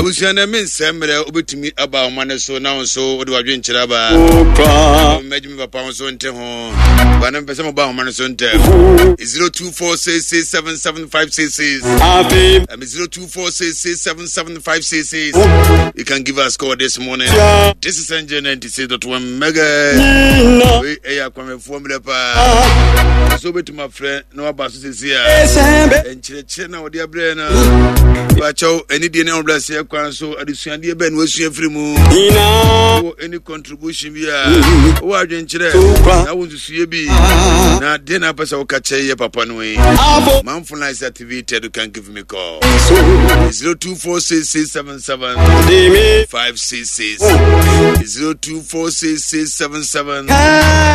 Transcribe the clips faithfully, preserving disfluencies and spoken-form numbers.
Abusua no me nsɛm mmerɛ wobɛtumi aba ahoma no so na wo nso wode w'adwenkyerɛ aba. Mɛgye me papa wo nso nte ho. Ba no mpɛ sɛ moba ahoma no so ntɛm. zero two four six six seven seven five six six. Um, zero two four six six seven seven five six six. You can give us call this morning. This is N J ninety six dot one Mega. We ɛyɛ akwamefoɔ mmerɛ paa. So wobɛtumi afrɛ na waba so sɛsi a nkyerɛkyerɛ na wɔde abrɛ no bakyɛw anidie ne ahobrɛaseɛ kwan so adesuadeɛ bɛn na wasua firi mu wɔ any contribution bi a wowɔ adwenkyerɛ na wo nsusuiɛ bi na deɛ na apɛ sɛ woka kyerɛ yɛ papa no yi. Manfo lines activated, you can give me call zero two four six six seven seven five six six zero two four six six seven seven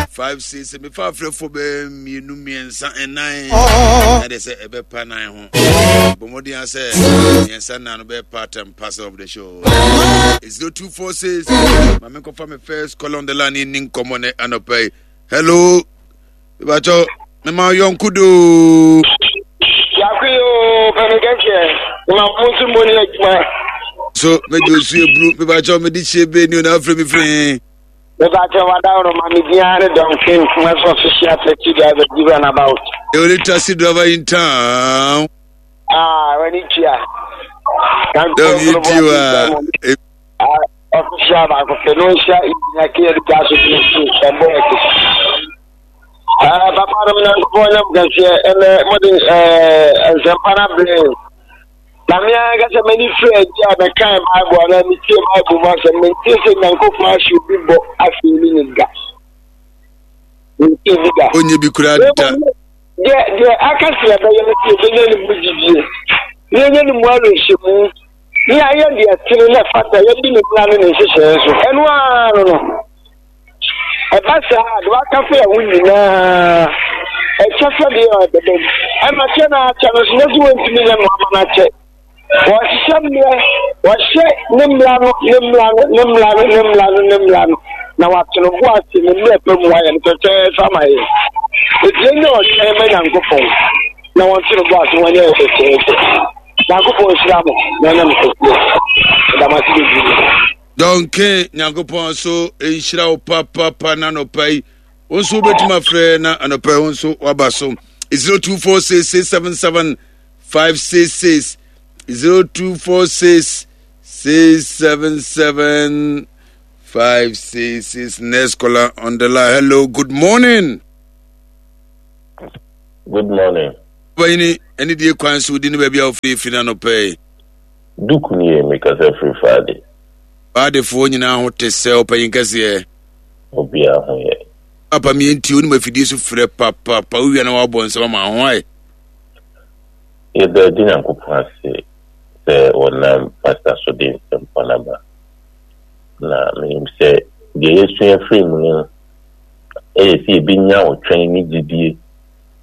five six. Mefa afrɛfoɔ bɛɛ mmienu mmiɛnsa ɛnan na deɛ sɛ ɛbɛpa nan ho bɔ mmɔden a sɛ mmiɛnsa nan no bɛyɛ part and parcel of the show. Zero two four six. Maame nkɔfa me first call on the line ni nkɔmmɔ ne anɔpa yi. Hello, mebakyɛw mema yɔnko doo. Yako yi o, pɛmi kɛseɛ, ma mo nso mo ni adwuma. So mɛgye osu eburu mebakyɛw mede hyie bee ni o na afrɛ me firi. Mebakyɛw wadaworo ma me biara ne Duncan Kumasi official taxi driver give an about. The only taxi driver in town. Ah, wani tua. Dɔm yi ti wa. Official baako pɛ no nhyia engineer K L gya so bi nso ɛbɔ ɛkɛ. Papa no Nyankopɔn nyam kɛseɛ ɛnɛ mode nsɛmpa no abrɛ. Na me ankasa m'ani firi adi a mɛkan Bible anaa metie Bible mu asɛm, mentie sɛ Nyankopɔn ahyɛ obi bɔ afei ne ne da. Mentie bi da. Onye bi kura da. Deɛ deɛ aka sɛ yɛbɛyɛ no sɛ yɛbɛnya ne mu gyidie, na yɛnya ne mu awerɛhyɛmu, na yɛayɛ deɛ tene na ɛfata, yɛdi ne mmara ne ne nhyehyɛeɛ so. Ɛno ara no no. Ɛba saa a, deɛ waka fa yɛn ho nyinaa, ɛkyɛ sɛ deɛ ɛbɛba mu. Ɛma kyɛ na akyɛ no so, nyɛ sɛ wɔntumi nyɛ no ama no akyɛ. Wɔhyehyɛ mmerɛ, wɔhyɛ ne mmara no, ne mmara no, ne mmara no, ne mmara no, ne mmara no, na wato no bo ase ne mmerɛ pa mu ayɛ no fɛfɛɛfɛ ama yɛn. Enti yɛnyɛ ɔtwɛn ma Nyankopɔn, na wɔnto no bo ase wɔnyɛ yɛ fɛfɛɛfɛ. Nyankopɔn nhyira mo na ɔnyɛ mo kɛseɛ. Meda mo ase bebree. Dɔnke Nyankopɔn so nhyira wo papapa na anɔpa yi wo nso wobɛtumi afrɛ na anɔpa yi wo nso waba so zero two four six six seven seven five six six zero two four six six seven seven five six six. Next caller on the line. Hello, good morning. Good morning. Bayini ɛne die kwan so di ne baabi a wofiri firi na anɔpa yi. Duku nie, mekasa firi Faade. Faadefoɔ nyinaa ho te sɛ ɔpanyin kɛseɛ. Obiara ho yɛ. Papa mi nti onim afidie so frɛ papapa wowia na wabɔ nsɛm ama ho ayɛ. Yɛda agye Nyankopɔn ase sɛ wɔnam pastor so de nsɛmpa no aba. Na menim sɛ deɛ yɛsua firi mu no ɛyɛ sɛ yɛbɛnya ɔtwɛn ne gyidie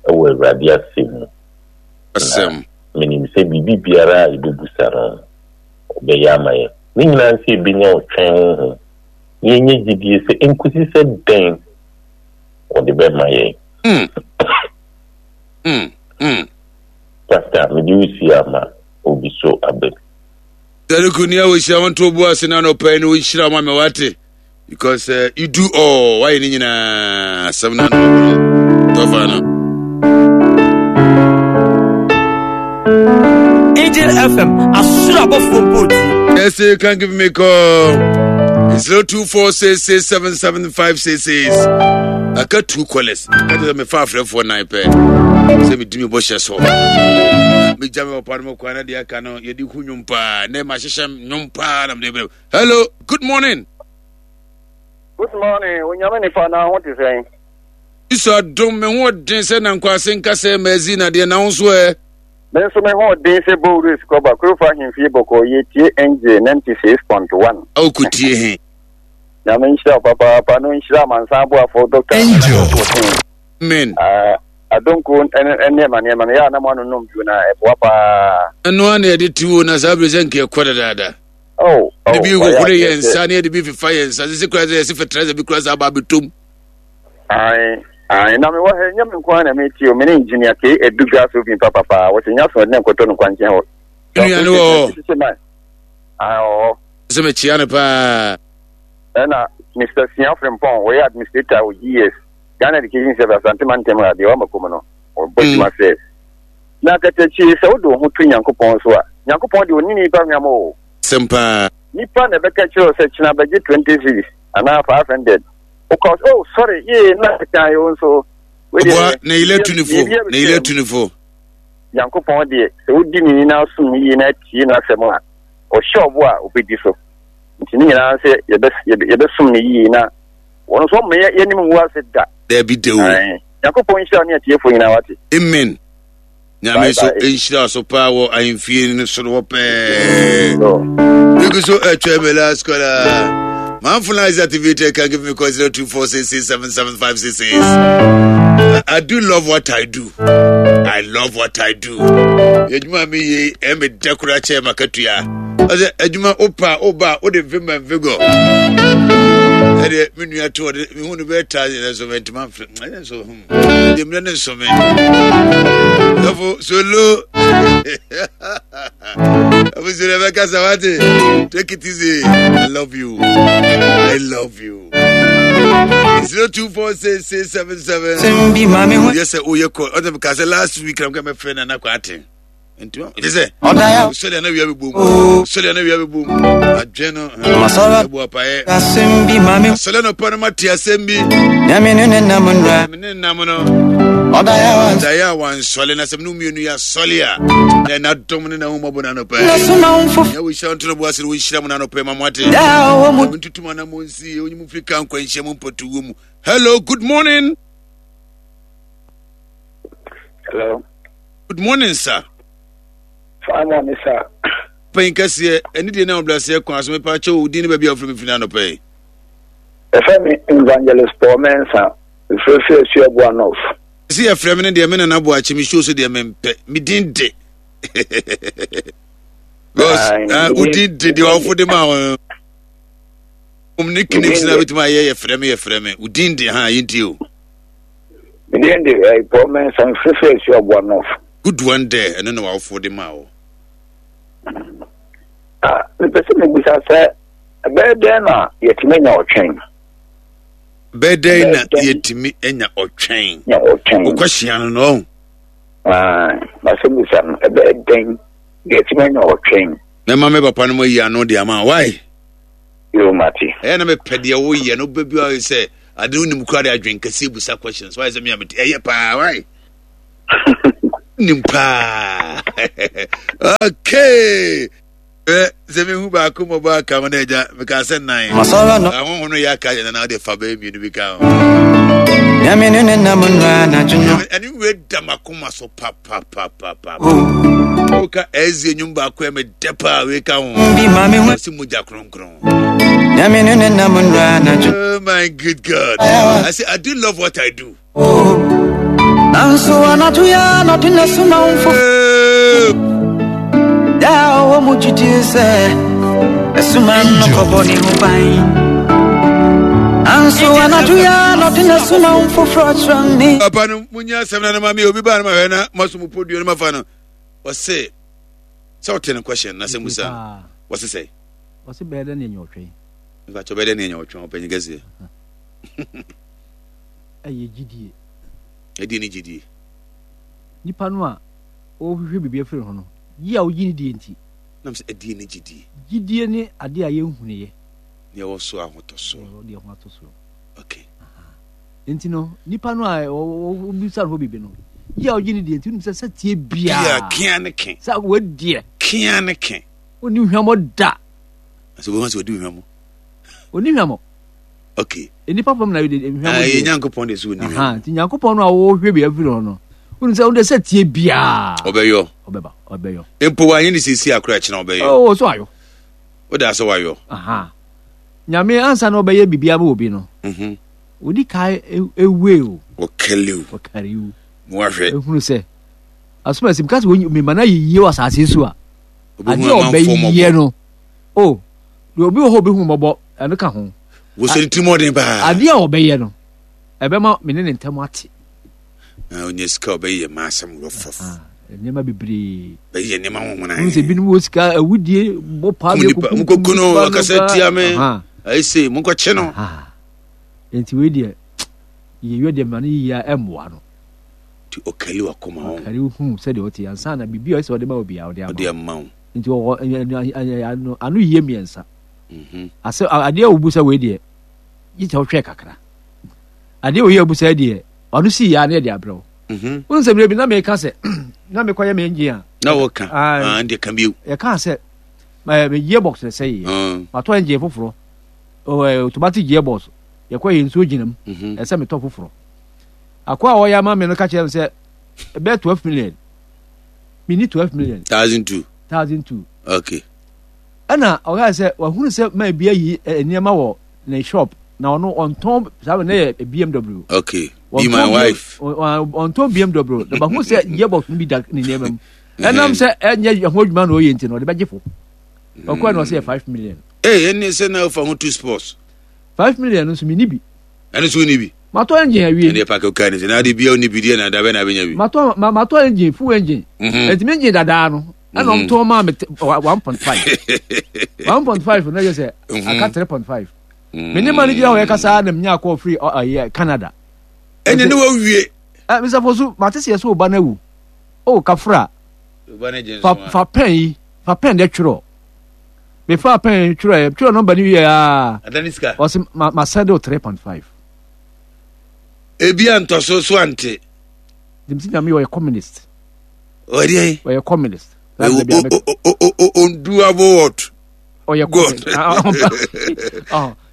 wɔ Awurade asɛm mu. Asɛm. Na menim sɛ biribi biara a yɛbɛbusa no ɔbɛyɛ ama yɛn. Ne nyinaa sɛ yɛbɛnya ɔtwɛn honhom na yɛnyɛ gyidie sɛ nkosi sɛ dɛn wɔde bɛma yɛn. Mm. Mm. Mm. Pastor, mede wo si ama obi so aba bi. Sɛdeku ni a wɔhyira wɔn to bo ase na anɔpa yi na wɔnhyira wɔn ama wate because uh, you do all wayɛ ne nyinaa asɛm no ano tɔfa no. Angel F M asoro abɔfoɔ mpo ti. Yes, you can give me a call. Zero two four six six seven seven five six six. I got two callers. I got me five four nine pair. Sɛ me di me bɔ hyɛ so. Me gya me papa no mo kwan na deɛ aka no yɛde hu nnwom paa na ma hyehyɛ nnwom paa na mede brɛ. Hello, good morning. Good morning. Onyame nipa na ho te sɛn? Yesu adom me ho ɔden sɛ nankwase nka sɛ mazi na deɛ na wo nso ɛ. Me nso me ho ɔden sɛ bowura sukɔba kurofa ahemfie bɔkɔɔ yɛtie N J ninety six point one. Awo kutie he. Nyame nhyira wo papaapa no nhyira amansan aboafo Doctor Angel. Amen. Uh, adonko nneɛma nneɛma no yɛ a na mo anonom bio na ɛboa paa. Ɛno a na yɛde te wo na saa bere sɛ nka ɛkɔ dadaada. Oh, oh, de bi hohoro yɛ nsa ne yɛde bi fefa yɛ nsa sisi kura sɛ yɛsi fertilizer bi kura sɛ aba abɛtom. Ae, ae, na mewɔ ha nyɛ me nko ara na metie o, me ne engineer K Edu gas oven papapaa, wɔsɛ nya so ɛdene nkɔtɔ no kwankyɛn hɔ. Nua no wɔ hɔ. Ah, ɔwɔ. Sɛ mekyia no paa. Ɛna Mister Sia Frimpong, wɔyɛ administrator wɔ G S, Ghana Education Service, Asante Mantam a deɛ wama kɔm no, ɔbɔ adwuma sɛ. Na katakyie, sɛ wode wo ho to Nyankopɔn so a, Nyankopɔn deɛ ɔnni nipa hwam o. Sɛm paa. Nipa na ɛbɛka kyerɛ wo sɛ kyena bɛgye twenty cedis anaa five hundred. Wokɔ sɛ, oh sorry, yee na ɛkan yɛ wo nso. Wei deɛ, Ɔboa na yɛlɛ tu ne fo, biribi na yɛlɛ abɛtwam. tu ne fo. Nyankopɔn deɛ, sɛ wodi ne ni na asom yie na atie n'asɛm a, ɔhyɛ ɔbo a obɛdi so. Nti ne nyinaa sɛ yɛbɛ- yɛbɛ- yɛbɛsom no yie na wɔn nso ɔmma yɛ- yɛnim ngu ase da. Dabi da o. Ae. Nyankopɔn nhyira wo ne atiefoɔ nyinaa, wate. Amen. Nyame Bye nso bye. nhyira so paa wɔ ahemfie no soro hɔ pɛɛ. No. Bigu so atwa me last caller. My phone is activated. Can give me call zero two four six six seven seven five six six. I, I do love what I do. I love what I do. Adwuma mi ye ɛmɛ dɛ kora kyɛ makatua. Ɔsɛ adwuma opa oba o de vim and vigor. Ɛdeɛ me nua to ɔde me hu no bɛyɛ thousand ɛnso mɛ ntoma nfrɛ ɛnso so hmm ɛdeɛ mmerɛ ne nsɔmɛ. Sɔfo solo. Abusu Rebecca Sawate, take it easy. I love you. I love you. Zero two four six six seven seven. Sɛm bi ma me ho. Yes, sir. Oh, yeah. Call. Other because last week I'm going to friend and I got it. Nti sɛ Ɔda sɔle ana wia bɛbom, Oh. sɔle ana wia bɛbom adwene no Masɔre. ɛbu apaeɛ. Asɛm bi ma me ho. Asɔle no pa no mate asɛm bi. Nyame ne ne nam nnura. Me ne nam no. Ɔda yɛ wa. Daeɛ a wansɔle na sɛ mene mmienu yɛ asɔle a na ɛna dɔm ne nahommɔbɔ no anɔpɛ. Na soma wo mfo. Nya wohyira nto no bo ase no wɔnhyira mu no anɔpɛ ma moate. Da a ɔwɔ mu. Ntutum ana mo nsi onyi mu firi ka nkwanhyia mu mpɔtuwɔ mu. Hello, good morning. Hello. Good morning, sir. Fine morning, sir. Panyin kɛseɛ ɛne deɛ na ɔblaseɛ kwan so, mepa kyɛw, wo din ne baabi a wofiri me firi no anɔpɛ yi. Ɛfɛ me Evangelist Paul Mensa, mfirifiri Asuaboa North. Sɛ yɛfrɛ me no deɛ, me nana boakye me show so deɛ mempɛ me din de because Aye, ah, wo din de deɛ ɔfo de ma wo um ne kinims na din de- bɛtumi ayɛ yɛfrɛ me yɛfrɛ me wo din de ha yɛntie o. Me din de eh, Paul Mensa, mfirifiri Asuaboa North. Good one there, ɛno na wawofo de ma wo. Ah, mepɛ sɛ mebisa sɛ ɛbɛyɛ dɛn na yɛtumi anya ɔtwɛn? Bɛyɛ dɛn na Bɛyɛ dɛn? yɛtumi anya ɔtwɛn? Nya ɔtwɛn. Wokɔhyia no no ɔho. Ah, masɛ bisa no, ɛbɛyɛ dɛn na yɛtumi anya ɔtwɛn? Mɛma me papa no mu ayi ano de ama wae. Yo, mate. Ɛyɛ na mepɛ deɛ woyɛ no wobɛ bi ayɛ sɛ ade no wonim kora de adwen kɛseɛ busa questions wayɛ sɛ mea mete ɛyɛ paa wae, nim paa. Okay, ɛ sɛ mehu baako mmɔbɔ aka mo no agya meka sɛ nan. Masɔre no. Ahoho no yɛ aka yɛ nana wode fa bɛyɛ mmienu bi ka ho. Nyame ne ne nam nnura anadwo no. Ɛne wei da makoma so papapapapa. Oh. Woka ɛzie nnwom baako ɛ medɛ paa, wei ka ho. Bi ma me ho. Ɔse mogya kronkron. Nyame ne ne nam nnura anadwo. Oh my good God. I say I do love what I do. Oh. Nanso anadwo yɛ anadwo na soma wo mfo. Oh. Da a ɔwɔ mu gyidie sɛ ɛsoma no kɔbɔ ne ho ban. Nanso anadwo yɛ anadwo na soma wo mfoforɔ kyerɛ me. Papa no munya asɛm na no ma me obi ba no ma hwɛ na maso mu podua no mafa no. Ɔse sɛ wote no question na sɛ musa no. Wɔse sɛ Ɔse bɛyɛ dɛ ne ɛnyɛ ɔtwɛn. Mfa kyɛ bɛyɛ dɛ ne ɛnya ɔtwɛn, ɔpanyin kɛseɛ. Ɛyɛ gyidie. Ɛdeɛ ne gyidie? Nipa no a ɔhwehwɛ biribi afiri ho no yi a wogye ne die nti. Nam sɛ ɛdeɛ ne gyidie? Gyidie ne adeɛ a yɛnhunuiɛ. Deɛ ɛwɔ so ahotɔsoɔ. Deɛ ho ato soɔ. Okay. Nti no nipa no a wobisa no hɔ biribi no yi a wogye ne die nti wonim sɛ sɛ tie bia biaa kea ne ke. Sɛ wadiɛ. Kea ne ke. Wonni hwammɔ da. Sɛ wobɛhu sɛ wɔdi hwammɔ. Onni hwammɔ. Okay. Nnipa fam na yɛde hwammɔ Ah, deɛ. yɛ Nyankopɔn de so wɔni Aha, hwammɔ. nti Nyankopɔn no a wɔhwɛ bi afiri hɔ no wonim sɛ wode sɛ tie biaa Ɔbɛyɔ. Ɔbɛba, ɔbɛyɔ. Mpo wanyɛ ne siesie akora kyena ɔbɛyɔ. Oh, so ayɔ. Wode asɛ wayɔ. Aha, Nyame ansa na ɔbɛyɛ biribiara ma obi no, Mhm. ɔdi kae ewe o. Ɔkɛle o. Ɔkari o. Mo ahwɛ. Ehunu sɛ asoma esi mka sɛ wɔnyi mema no ayɛ yie wɔ asase yi so a, Obɛhu adeɛ a amanfoɔ ɔbɛyɛ mmɔbɔ. no o, deɛ obi wɔ hɔ a obɛhu mmɔbɔ, ɛno ka ho. Wosɛ ne tirim ɔden paa. Adeɛ a ɔbɛyɛ no ɛbɛma me ne ne ntam ate. Na ɔnya sika a ɔbɛyɛ ma asɛm rɔfɔf. Ah, Nneɛma bebree. Bɛyɛ nneɛma ho hona. N sɛ binom wɔ sika awudie bɔ paa bi kuku. Mokɔku no ɔkasa tia me. Ayi se monkɔkye no. Nti wei deɛ yɛyɛ deɛ ma no yie a ɛmmoa no. Nti ɔkali wakoma ho. Ɔkali hu sɛdeɛ ɔte ansa na biribi a ɔsɛ ɔde ma obiara ɔde ama. Ɔde ama wo. Nti ɔwɔ ano yie mmiɛnsa. Mhm. Asɛ adeɛ a obu sɛ wei deɛ gye sɛ ɔhwɛ kakra. Adeɛ a oyi abu sɛ deɛ ɔno si yɛ a na yɛde abrɛ wo. Mhm. Wohu sɛ mmerɛ bi na meka sɛ na mekɔyɛ me engine a. Na wɔka. Ah, deɛ ka bio. Yɛkaa sɛ me gearbox na ɛsɛ yɛ. Ah. Matɔ engine foforɔ. Automatic gearbox. Yɛkɔ yɛ nsuo gyina mu. Mhm. Ɛsɛ metɔ foforɔ. Akɔ a ɔyɛ ama me no ka kyerɛ me sɛ ɛbɛyɛ twelve million. Menni twelve million. Thousand two. Thousand two. Okay. Ɛna ɔkaa sɛ wahunu sɛ maa bi ayi nneɛma wɔ ne shop na ɔno ɔntɔn saa ne yɛ B M W. Okay, be my wife. Ɔntɔn B M W na bahu sɛ gearbox no bi da ne nneɛma mu, ɛnam sɛ ɛnyɛ ɛho adwuma na ɔyɛ nti no ɔde bɛgye fo. Ɔkɔɛ na ɔsɛ yɛ five million. Ee, ɛne sɛ na ɔfa ho two sports. Five million no nso mi ni bi. Ɛno nso ni bi. Matɔ engine awie. Ɛne paaki ɔkaa ne sɛ na ade bia ɔni bi deɛ na dabɛ na abɛnya bi. Matɔ matɔ engine, full engine. Ɛntumi engine dadaa no ɛna ɔmo tɔn maa mi one point five one point five na yɛ sɛ aka three point five. Me ne ma no gyina hɔ yɛ kasa na menya akɔ firi ɔyɛ Canada. Ɛne ne wawie. Ɛ Mister Fosu, mate sɛ yɛ sɛ ɔba no awu o kafra fa fa pɛn yi, fa pɛn dɛ twerɛ. Mefa pɛn twerɛ twerɛ nɔmba no wie aa ɔse ma ma send o three point five. Ebi antɔ so so ante. Dimsi Nyame ɔyɛ communist. Ɔdeɛ ɔyɛ communist. Undoable what? Ɔyɛ God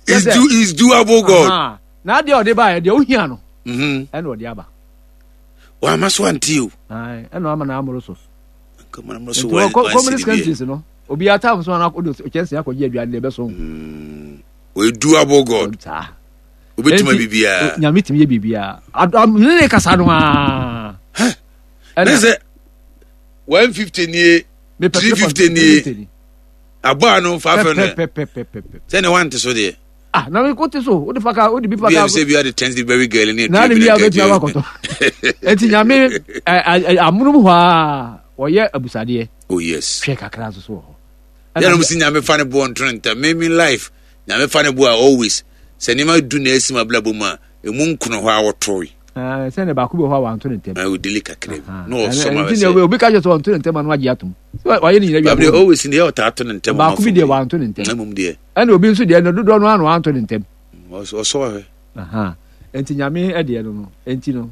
is do is doable God. Na adeɛ ɔde ba yɛ deɛ ohia no ɛna ɔde aba. Wama so ante o. Ɛna ama na amoro so. Nti communist countries no obi atam so ana ɔde kyɛnse akɔgye aduane deɛ ɛbɛso. Ɔyɛ doable God. Saa. Obetuma biribiara. Nyame tumi yɛ biribiara. Ne ne kasa no aa. Ne sɛ one fifty nie, three fifty nie, abɔ ano five hundred. Sɛ ne wante so deɛ. Ah, na mi ko te so o de fa ka o de bi fa ka. Bi sɛ bi ade ten berry girl ne. Na ne bi a bɛ tia wakɔtɔ eti Nyame ɛ amunum hɔ a ɔyɛ abusadeɛ. Oh yes. Hwɛ kakra nso so wɔ hɔ. Yɛn si Nyame fa ne boɔ ntono ntam. Me me life Nyame fa ne boɔ a, always sɛ nneɛma du na esi ma bla bɔ mu a, emu nkono hɔ a wɔtoe. Sɛ ne baako bi wɔ hɔ a wanto ne ntɛm. Ɛɛ odili kakra bi na ɔsɔ ma bɛ sɛ. Obi ka kyerɛ sɛ ɔnto ne ntɛm a, no agye atom. Wayɛ ne nyina wie. Babi always ne yɛ ɔtaa to ne ntɛm. Baako bi deɛ wanto ne ntɛm. Ɛmum deɛ. Ɛna obi nso deɛ no dodoɔ no ano wanto ne ntɛm. Ɔsɔ ahwɛ. Nti Nyame ɛdeɛ no no nti no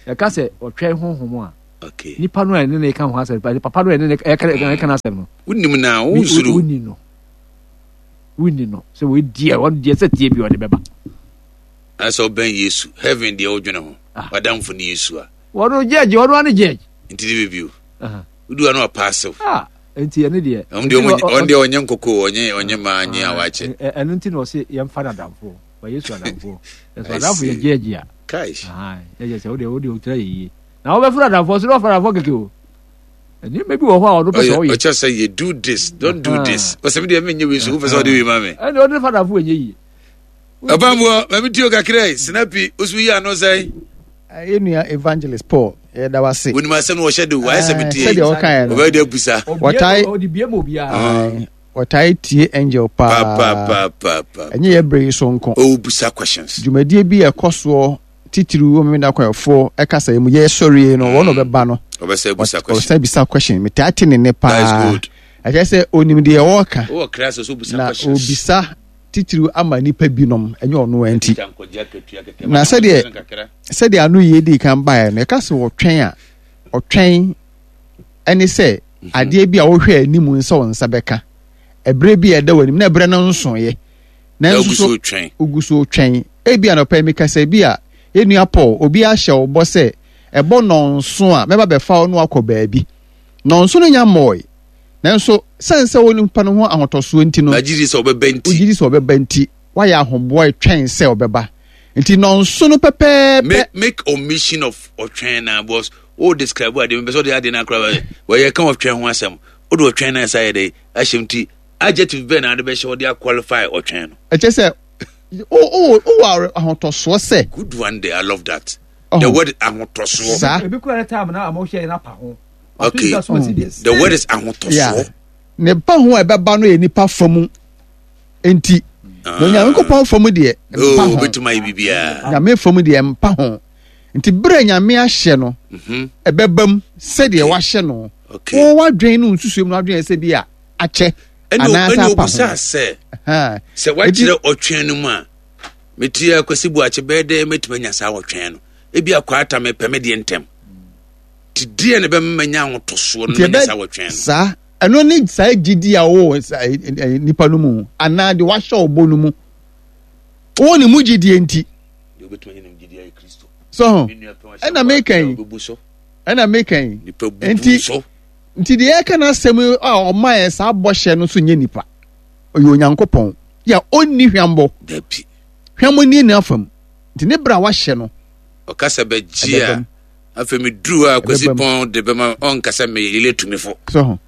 yɛka sɛ ɔtwɛn honhom a. Okay. Nipa no a ɛne ne ka ho asɛm, papa no a ɛne ne ɛka n'asɛm no. Wonim na wonsuro. Wonni no. Wonni no sɛ wɔyɛ deɛ ɔno deɛ sɛ tie bi ɔde bɛba. Asɛ ɔbɛn Yesu heaven deɛ wodwene ho, wadamfo ne Yesu a. Wɔno judge, ɔno ane judge. Nti de bɛbi o wodu ano apaase. Ah, nti ɛne deɛ. Ɔno deɛ ɔnyɛ nkoko, ɔnyɛ ɔnyɛ maa nye awakyɛ. Ɛno nti na ɔse yɛmfa no adamfo, wa Yesu adamfo. Ɛso adamfo yɛ judge a. Kai. Yɛ sɛ wode wode wotra yɛ yie. Na wobɛfra adamfo so na ɔfra adamfo kɛkɛ o. Nneɛma bi wɔ hɔ a ɔno pɛ sɛ ɔyɛ. Ɔkyɛ sɛ yɛ do this, don't do this. Ɔsɛ mi deɛ mi nye wei so, wofɛ sɛ ɔde wei ma mi. Ɛna ɔde fa adamfo ɛnyɛ yie. Ɔbɛnboɔ, maame tio kakra yi, sinapi, osu yi ano sɛn. Yɛ nua Evangelist Paul, yɛda wase. Wonim asɛm no wɔhyɛ de wayɛ sɛ metie. Sɛdeɛ ɔkaeɛ no. Ɔbɛyɛ de abusa. Wɔtae ɔde bie ma obiara. Wɔtae tie Angel paa. Papaapapa. Ɛnyɛ yɛ bere yi so nko. Ɔbusa questions. Dwumadie bi a ɛkɔ soɔ titiriw wɔ Memenda Kwayɛfoɔ ɛkasa yi mu yɛsɔre yi no, wɔn na ɔbɛba no. Ɔbɛsɛ busa question. Ɔbɛsɛ bisa question. Metaa te ne nne paa. That is good. Ɛkyerɛ sɛ onim deɛ ɔreka. Wowɔ class so busa na questions. Obisa titiriw ama nipa binom, ɛnyɛ ɔno nti. Na sɛdeɛ sɛdeɛ ano yie di kan baeɛ no, ɛka sɛ ɔtwɛn a, ɔtwɛn ɛne sɛ mhm. adeɛ bi a wohwɛ anim sɛ wo nsa bɛka ɛberɛ bi a ɛda w'anim na ɛberɛ no nsoeɛ, nanso so wogu so twɛn. Ebi anɔpa yi mekasa bi a, yɛnua Paul, obi ahyɛ wo bɔ sɛ ɛbɔ nɔnso a mɛba bɛfa wo no akɔ baabi. Nɔnso no nya mmɔe, nanso sɛn sɛ wo nipa no ho ahotɔsoɔ nti no, wogye di sɛ ɔbɛba nti, wogye di sɛ ɔbɛba nti, wayɛ ahoboa twɛn sɛ ɔbɛba nti nɔnso no pɛpɛɛpɛ. Make make omission of ɔtwɛn na boss o describe ade mepɛ sɛ ɔde ade no akora wɔyɛ ka ɔtwɛn ho asɛm, wode ɔtwɛn no ɛsa yɛ dɛ ahyɛm nti adjective bɛn na ade bɛhyɛ ɔde aqualify ɔtwɛn no? Ɛkyɛ sɛ wowɔ ahotɔsoɔ sɛ. Good one there, I love that. Oh. The word ahotɔsoɔ. Saa. Ebi kura ne time na ama ɔhyɛ yɛn apa ho. Okay. The word is ahotɔsoɔ. Ne ba ho a ɛbɛba no yɛ nipa fa mu nti. Na Onyankopɔn fa mu deɛ mpa ho. Obetuma yɛ biribiara. Nyame fa mu deɛ mpa ho. Nti bere Nyame ahyɛ no, ɛbɛba mu sɛdeɛ wahyɛ no. Wo wadwen no nsusuo mu no adwen sɛ bi a akyɛ anaasɛ apa ho. Ɛna sɛ sɛ wakyerɛ ɔtwɛn no mu a meti akwasi bu akye bɛyɛ dɛ mɛtumi anya saa ɔtwɛn no. Ebi akɔ mepɛ me deɛ ntɛm. Ti deɛ na ɛbɛma manya ahotɔsoɔ no manya saa ɔtwɛn no. Saa ɛno ne saa gyidi a wɔwɔ nipa no mu anaa deɛ wahyɛ ɔbɔ no mu. Wɔwɔ ne mu gyidie nti. So ɛna meka yi ɛna meka yi nti nti deɛ ɛka n'asɛm a ɔma yɛ saa bɔhyɛ no so nyɛ nipa ɔyɛ Onyankopɔn yɛ ɔnni hwambɔ hwambɔ ni ne afam nti ne bere a wahyɛ no ɔkasa bɛgye a afei meduru hɔ a Kwasi Pɔn de bɛma ɔnkasa meyɛ yɛlɛ tumifo so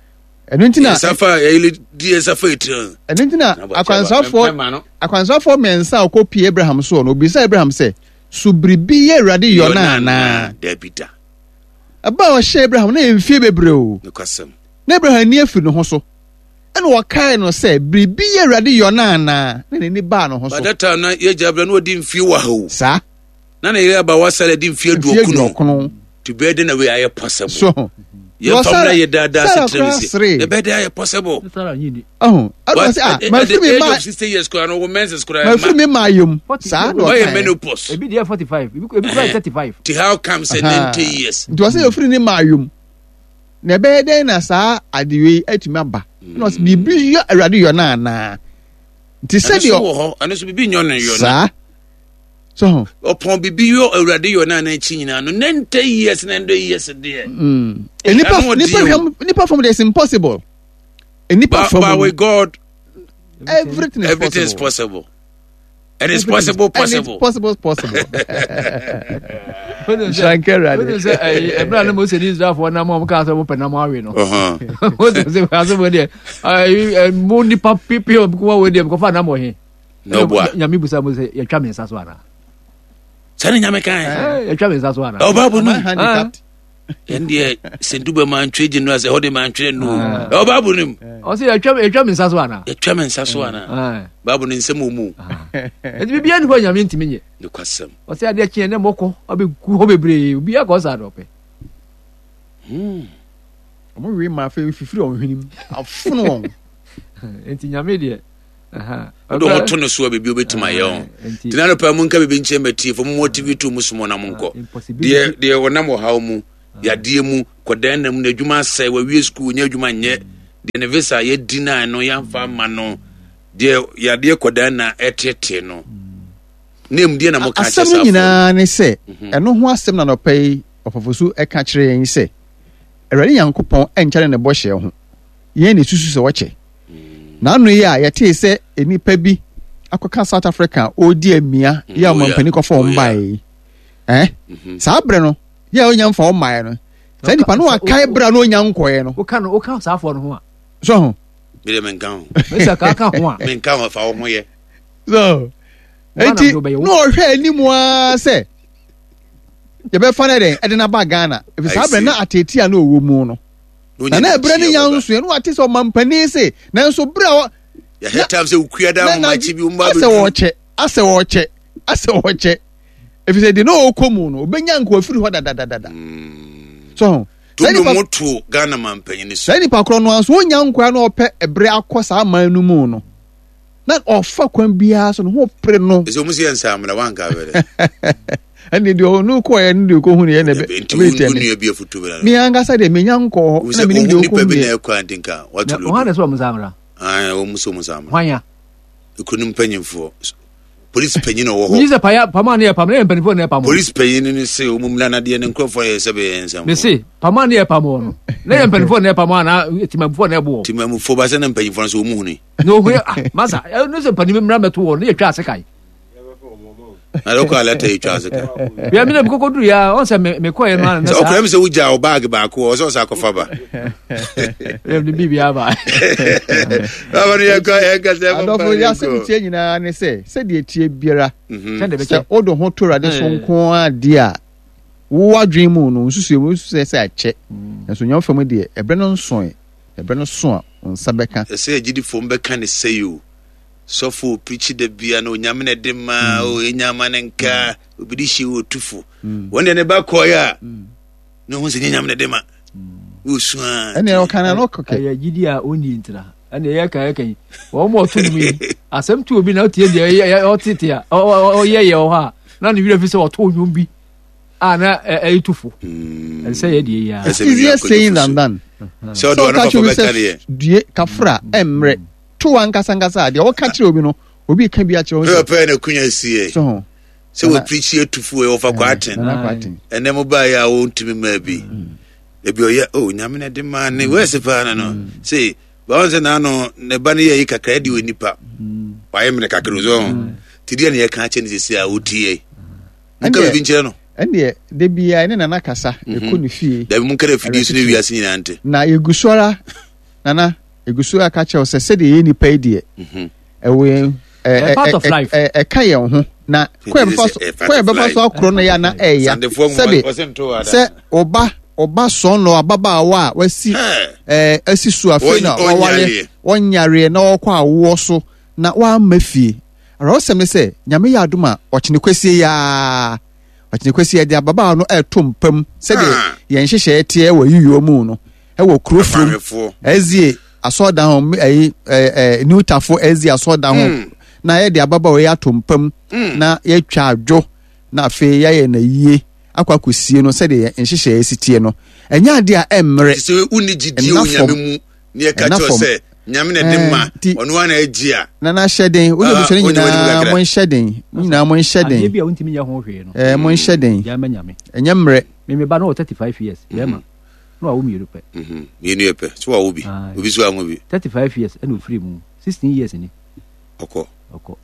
ɛno nti na nsafa yɛlɛ di nsafa etiri ɛno nti na akwansafoɔ akwansafoɔ mmiɛnsa a ɔkɔ pie Abraham soɔ no obisa Abraham sɛ so biribi yɛ Awurade yɔ no anaa? Dabi da. Ɛba a ɔhyɛ Abraham na yɛ mfie bebree o. Nokwasɛm. Na Abraham ani afiri ne ho so. Ɛna ɔkae no sɛ biribi yɛ Awurade yɔ no anaa? Na n'ani baa ne ho so. By that time na yɛgya Abraham na wadi mfie wɔ ha o. Saa. Na ne yere abawa Sara di mfie aduokron. Aduokron. Ti bɛyɛ dɛ na wei ayɛ possible. So. Yɛn fam na yɛ daadaa sɛ tẹrɛ mi se. Ɛbɛyɛ dɛ ayɛ possible. Ɔhun. Ɛna ɔsɛ ah mafiri mi ma. At the age of sixty years koraa no wɔ menses koraa. Mafiri mi ma ayom. Saa na ɔka yɛ. Menopause. Ebi deɛ forty five ebi kura thirty five. Ti how come sɛ ninety years. Nti ɔsɛ yɛfiri ne ma ayom. Na ɛbɛyɛ dɛn na saa adeɛ yi atumi aba. Ɛna ɔsɛ biribi yɔ Awurade yɔ no anaa. Nti sɛdeɛ. Ɛno so wɔ hɔ ɛno so biribi nyɔ no yɔ no. Saa. So ɔpɔn bibi yɔ Awurade yɔ na n'akyi nyinaa no ninety years ninety years deɛ. Nipa nipa hwɛm nipa fam de it's impossible. Nipa fam. But with God, everything is everything is possible. And it's possible, possible. And it's possible, possible. Shankara. Ɛbɛrɛ ne Mose ni Israelfoɔ nam a wɔn kaa sɛ wɔn pɛ nam awe no. Mose sɛ asɛ wɔn deɛ mo nipa pipi wɔn kuma wɔn deɛ kɔfa nam wɔ he. N'oboa. Nyame busa mo sɛ yɛtwa me nsa so anaa? Sɛ ne nyame kan. Yɛtwa me nsa so anaa? Ɛwɔ Bible no. Ɛn deɛ sɛndu bɛ ma ntwe gye no asɛ hɔ de ma ntwerɛ no. Ɛwɔ Bible no mu. Ɔsɛ yɛtwa yɛtwa me nsa so anaa? Yɛtwa me nsa so anaa? Bible no nsɛm wɔ mu. Ɛnti biribiara ni hɔ nyame ntumi nyɛ. Nokwasɛm. Ɔsɛ adeɛ kyeɛ ne mɔkɔ abɛgu hɔ bebree obiara kɔ saa na ɔpɛ. Ɔmo we ma afei fifiri wɔn hwenem afono wɔn. Nti nyame deɛ. Wode ho to no so a biribi wobɛtumi ayɛ ho nti na nɔpɛ mu nka biribi nkyerɛ matiefo mo motivate mu somɔ na monkɔ deɛ deɛ ɔnam ɔhaw mu yadeɛ mu kɔdan na mu na adwuma asɛe wawie sukuu nyɛ adwuma nyɛ deɛ ne visa yɛdi na no yɛamfa ama no deɛ yadeɛ kɔdan na ɛtete no na emu deɛ na moka kyerɛ asɛm no nyinaa ne sɛ ɛno ho asɛm na nɔpɛ yi ɔfɔfo so ɛka kyerɛ yɛn sɛ Awurade Nyankopɔn ɛnkyɛre ne bɔhyɛ ho yɛn na esusu sɛ wɔkyɛ N'ano yi a yɛtee sɛ nnipa bi akɔka South Africa a ɔredi amia yɛ a ɔmampanin kɔfa wɔn baeɛ yi eh? Saa berɛ no yɛ a ɔnya mfa wɔn mmaeɛ no saa nipa no wakae berɛ a na ɔnya nkɔeɛ no woka no woka saa afɔ no ho a so ho mede menka ho mesa ka ka ho a menka ho fa wo ho yɛ so enti na ɔhwɛ anim ara sɛ yɛbɛfa no dɛn ɛde no aba Ghana ɛfiri saa berɛ na ateetea na ɔwɔ mu no na na ɛberɛ ne nya nso ɛno ate sɛ ɔmampanin se nanso berɛ a yɛhɛ tam sɛ wokua da ahomakye bi womba asɛ wɔkyɛ asɛ wɔkyɛ asɛ wɔkyɛ ɛfiri sɛ deɛ na ɔkɔ mu no ɔbɛnya nka wafiri hɔ dadadadada so ho saa nipa to Ghana mampanyin so saa nipa korɔ no nso ɔnya nkoa na ɔpɛ ɛberɛ akɔ saa man no mu no na ɔfa kwan biara so no ho pere no ɛsɛ ɔmu sɛ yɛ nsamena wanka bɛdɛ ɛne deɛ ɔno kɔɛ ne deɛ ɔkɔhu no yɛ na ɛbɛtɛ me me ankasa deɛ menya nkɔɔ hɔ na menim deɛ ɔkɔhu yɛ nipa bi na ɛkɔ sɛ ɔmo samra ɔmo sɛ ɔmo samra hwan ya ekuro no mpanyinfoɔ polisi panyin ɔwɔ hɔ wogye sɛ paya pama ne yɛ pam ne yɛ mpanimfoɔ na yɛ pam polisi panyin no se ɔmo mmla nadeɛ ne nkurɔfoɔ yɛ sɛ bɛyɛ nsɛm me se pama ne yɛ pam wɔ no na yɛ mpanimfoɔ na yɛ pam anaa timamufoɔ na ɛbo wɔ timamufoɔ ba sɛ na mpanyinfoɔ no sɛ ɔmo huni na ohun ah masa ɛno sɛ mpanimfoɔ mmra mɛto wɔ no yɛ twa ase kae na dɔkɔ alata yi twa ase ka. Bia mi na mi koko duru ya ɔn sɛ mi kɔ yɛ no ana. Sɛ ɔkura mi sɛ wogya o baagi baako ɔsɛ ɔsɛ akɔfa ba. Ɛm ni bibi aba. Baba ni yɛ kɔ yɛ kasa ɛfɔ pa. Adɔfo yɛ asɛm tie nyinaa ne sɛ sɛdeɛ tie biara sɛ o de ho to Awurade so nko adeɛ a Wo adwene mu no, nsusuɛ mu nsusuɛ sɛ akyɛ. Nanso Onyame fam deɛ, ɛberɛ no nsoe. Ɛberɛ no so a, wo nsa bɛka. Ɛsɛ agyidifoɔ mbɛka ne sɛi o. Sɔfo oprikyi da bia no Onyame na ɛde ma o, yɛnya ama ne nka, obi de hyɛ o tufo. Wɔn deɛ ne ba kɔɛ a, na ohun sɛ nyɛ Nyame na ɛde ma. Wosu a. Ɛnna ɔka na no kɔkɛ. Ɛyɛ gyidi a ɔnni ntira. Ɛnna ɛyɛ kan ɛka yi. Wɔn mu ɔto nnwom yi. Asɛm to obi na ɔtie deɛ ɔtete a ɔyɛ yɛ wɔ hɔ a na ne werɛ fi sɛ ɔto nnwom bi a na ɛyɛ tufo. Ɛsɛ yɛ deɛ yɛ. It's easier saying than done. Sɛ ɔde ɔno papa bɛka deɛ. Due kafra ɛmmerɛ to ankasa ankasa a deɛ ɔka kyerɛ obi no obi ka bi akyerɛ wɔn sɛ. Pɛpɛ na kunya si yɛ. So ho. Sɛ wɔpirikyi atufu ɛ wɔfa kwaten. Ɛnɛ mo baeɛ a wɔntumi mmaa bi. Ebi ɔyɛ o nyame na de maa ne wɛsi paa no no. Sei báwọn sɛ n'ano ne ba no yɛ yi kakra ɛde wɔ nipa. Wayɛ mmerɛ kakra so ho. Ti deɛ ne yɛka akyɛ ne sisi a wotie. Monka biribi nkyerɛ no. Ɛndeɛ da biara ne nana kasa ɛkɔ ne fie. Dabi monka dɛ fidie so ne wiase nyinaa nte. Na yɛgu so ara nana egu so aka kyerɛ wo sɛ sɛdeɛ yɛyɛ nipa yi deɛ ɛwɔ yɛn ɛka yɛn ho na kwan yɛ bɛfa so akorɔ no yɛ ana ɛya sɛbe sɛ ɔba ɔba sɔn no ababaawa a wasi ɛɛ asi so afei na waware ɔnyareɛ na ɔkɔ awoɔ so na wamma fie awerɛhosɛm ne sɛ nyame yɛ adom a ɔkyene kwasie yaa ɔkyene kwasie de ababaawa no ɛɛto mpam sɛdeɛ yɛn nhyehyɛeɛ teɛ wɔ yiyɔ mu no ɛwɔ kuro furom ɛzie asɔɔdan ho ɛyi ɛɛ ɛɛ new tafo ɛzie asɔɔdan ho mm. na yɛde ababaawa yi ato mpam mm. na yɛatwa adwo na afei yɛayɛ na yie akɔ akɔsie no sɛdeɛ nhyehyɛeɛ si teɛ no ɛnyɛ adeɛ a ɛmmerɛ sɛ wonni gyidie wɔ nyame mu ne yɛka kyerɛ sɛ nyame na ɛde ma ɔno ana agyi a na na hyɛ den wode abusua no nyinaa mo nhyɛ den mo nyinaa mo nhyɛ den adeɛ bi a wontumi nyɛ ho hwee no ɛɛ mo nhyɛ den ɛnyɛ mmerɛ me me ba no wɔ thirty five years bɛrima na wawo mmienu pɛ. Mhm, mmienu yɛ pɛ so wawo bi obi so anwo bi. Thirty five years ɛna ofiri mu sixteen years ni. Ɔkɔ. Ɔkɔ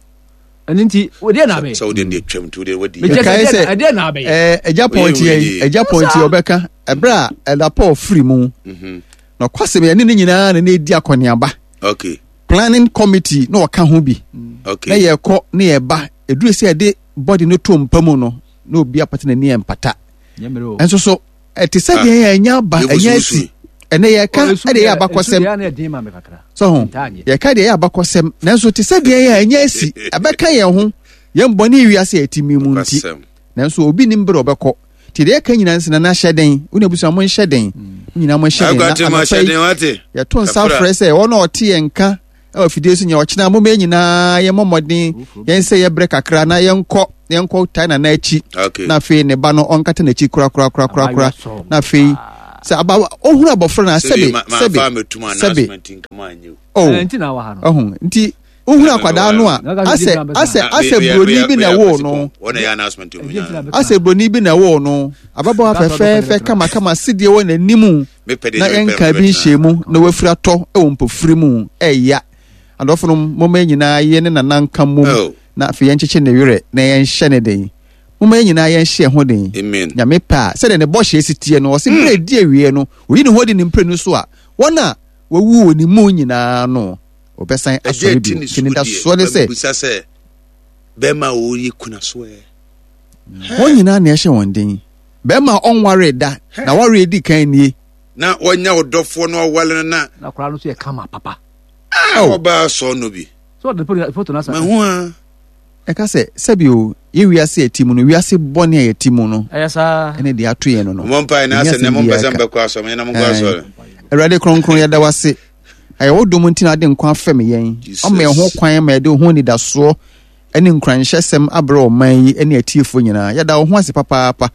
ɛno nti wodeɛ na abɛyɛ. Sɛ wodeɛ deɛ twam nti wodeɛ wadi. Mekae sɛ ɛdeɛ na abɛyɛ. Ɛɛ ɛgya pɔnti yɛ ɛgya pɔnti ɔbɛka ɛbrɛ a ɛda Paul firi mu. Mhm. Na ɔkwasɛm yɛ ne ne nyinaa na ne edi akɔneaba. Okay. Planning committee na ɔka ho bi. Okay. Na yɛkɔ na yɛba eduru sɛ yɛde body no to mpa mu no na obi apata n'ani mpata. Ɛnso so ɛte sɛ deɛ yɛ ɛnya aba ɛnya asi ɛnɛ yɛka ɛde yɛ abakɔsɛm sɛ ho yɛka deɛ yɛ abakɔsɛm nanso te sɛ deɛ yɛ ɛnya asi ɛbɛka yɛn ho yɛn bɔne wiase a ɛte mi mu nti nanso obi nim bere ɔbɛkɔ nti deɛ yɛka nyinaa nsena na hyɛ den wo na abusua mo nhyɛ den mo nyinaa mo nhyɛ den na anɔpa yi yɛto nsa frɛ sɛ wɔn a ɔte yɛn nka ɛwɔ afidie so nyɛ ɔkyena moma yɛn nyinaa yɛmmɔ mmɔden yɛn sɛ yɛbrɛ kakra na yɛnkɔ yɛnkɔ tae nana akyi na afei ne ba no ɔnkata n'akyi korakorakorakorakora na afei sɛ aba ohunu abɔfra na sɛbe sɛbe sɛbe oh ɔho nti wohunu akwadaa no a asɛ asɛ asɛ buroni bi na ɛwoo no asɛ buroni bi na ɛwoo no ababaawa fɛfɛɛfɛ kamakama sideɛ wɔ n'anim na yɛnka bi nhyɛ mu na wafiri atɔ wɔ mpofiri mu ɛya adɔfo no momma yɛn nyinaa yɛ ne nana nka mmom oh. na afei yɛnkyekye ne werɛ na yɛnhyɛ ne den momma yɛn nyinaa yɛnhyɛ ho den nyame pɛ a sɛdeɛ ne bɔhyɛ si teɛ no ɔse hmm. berɛ ɛdi awieɛ no oyi ne ho adi ne mprenu so a wɔn a wɔwu wɔ ne mu nyinaa no wɔbɛsan asɔre bio nti ne dasoɔ ne sɛ bɛrima a wɔyɛ kuna so ɛ wɔn nyinaa na ɛhyɛ wɔn den Bɛrima a ɔnwaree da na wareɛ di kan nie. Na wanya ɔdɔfoɔ na wawale no na. Na akwadaa no nso yɛ kama papa. Ah, ɔbaa sɔɔ no bi. So ɔde foto no asa. Mahu a. Ɛka sɛ, sɛbi o, yɛ wiase a yɛte mu no, wiase bɔne a yɛte mu no, ɛyɛ saa. Ɛne deɛ ato yɛn no no. Mo mpae na asɛ nɛ mo mpɛ sɛ mbɛkɔ asɔre, mo nyina mo nkɔ asɔre. Awurade kronkron yɛda wo ase. Ɛyɛ wo dom nti na ade nkwa afɛm yɛn. Ɔma yɛn ho kwan ma yɛde wo ho anidasoɔ ne nkuranhyɛsɛm abrɛ ɔman yi ne atiefoɔ nyinaa. Yɛda wo ho ase papaapa.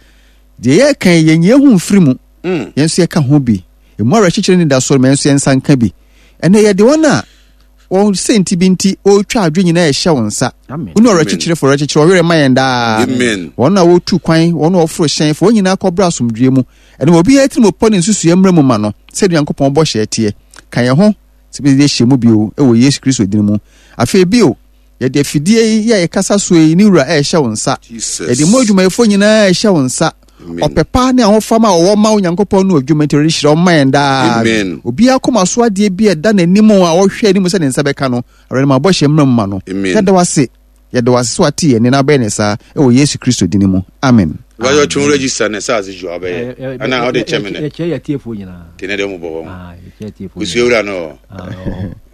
Deɛ yɛreka yi, yɛnyi yɛn ho mfiri mu. Mm. Yɛn nso yɛka ho bi. Emu awerɛkyekyerɛ ne anidasoɔ no, ma yɛn nso yɛn nsa nka bi. Ɛnɛ yɛde wɔn a wɔn sɛnti bi nti wɔretwa adwe nyinaa ɛhyɛ wɔn nsa. Wo ne ɔwerɛkyekyerefoɔ ɔwerɛkyekyere ɔwerɛ ma yɛn daa. Wɔn a wɔtu kwan, wɔn a wɔforo hyɛn, fa wɔn nyinaa kɔbrɛ asomdwoeɛ mu. Ɛne ma obiara tirim pɔ ne nsusuiɛ mmra mu ma no sɛdeɛ Onyankopɔn bɔhyɛ teɛ. Ka yɛn ho sɛ bɛde ahyia mu bio wɔ Yesu Kristo din mu. Afei bio, Yɛde afidie yi a yɛkasa soɔ yi ne wura ɛrehyɛ wo nsa. Yɛde mu adwumayɛfoɔ nyinaa ɛrehyɛ wo nsa. Ɔpɛ pa ne ahofama a wɔwɔ ma Onyankopɔn no adwuma nti Awurade hyira wɔn ma yɛn daa. Obiara koma so adeɛ bi a ɛda n'anim a ɔhwɛ anim sɛ ne nsa bɛka no, Awurade ma bɔhyɛ mmra mu ma no. Yɛda wo ase. Yɛda wo ase sɛ wate yɛn nne na wobɛyɛ ne saa wɔ Yesu Kristo din mu. Amen. Wáyé ɔtún register ne sáà ju abɛyɛ ana ɔde kyɛ mi nɛ. Yɛkyɛ yɛ tiefoɔ nyinaa. Tene deɛ ɔmo bɔ wɔn. Kusua wura no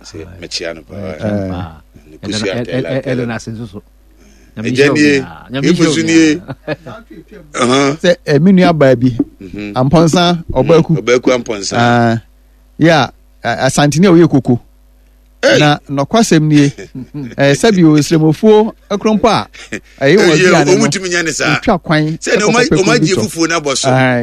sɛ mɛkyia no paa. Kusua tɛla tɛla. Ɛdɛ n'ase nso so. Ɛgya nie emusu nie. Sɛ ɛmi nua baa bi Ampɔnsa Ɔbaaku. Ɔbaaku Ampɔnsa. Yɛ a Asantene a ɔyɛ koko. Na nɔkwasɛm nie, ɛɛ sɛbi o srɛmofuo kurompo a ɛyɛ wɔn aduane no otwa kwan ɛkɔkɔ pɛ kuro bi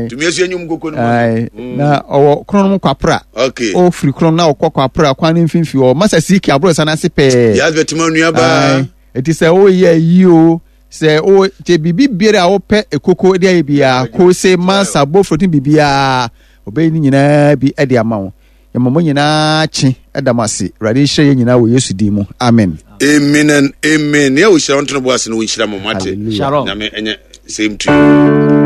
tɔ na ɔwɔ kronom kwapra ɔfiri kronom na ɔkɔ kwapra kwan no mfimfini ɔ masa siki aborosa no ase pɛɛ eti sɛ ɔyɛ yi o sɛ o kyɛ biribi biara a wopɛ ekoko de ayɛ biara kose masa bofrot ne biribiara ɔbɛyi ne nyinaa bi de ama wo. Yɛma mo nyinaa kye da mo ase. Awurade nhyira yɛn nyinaa wɔ Yesu din mu. Amen. Amen and amen. Nea ohyira wo ntono bo ase no wo nhyira mo mate. Shalom. Nyame ɛnyɛ same to you.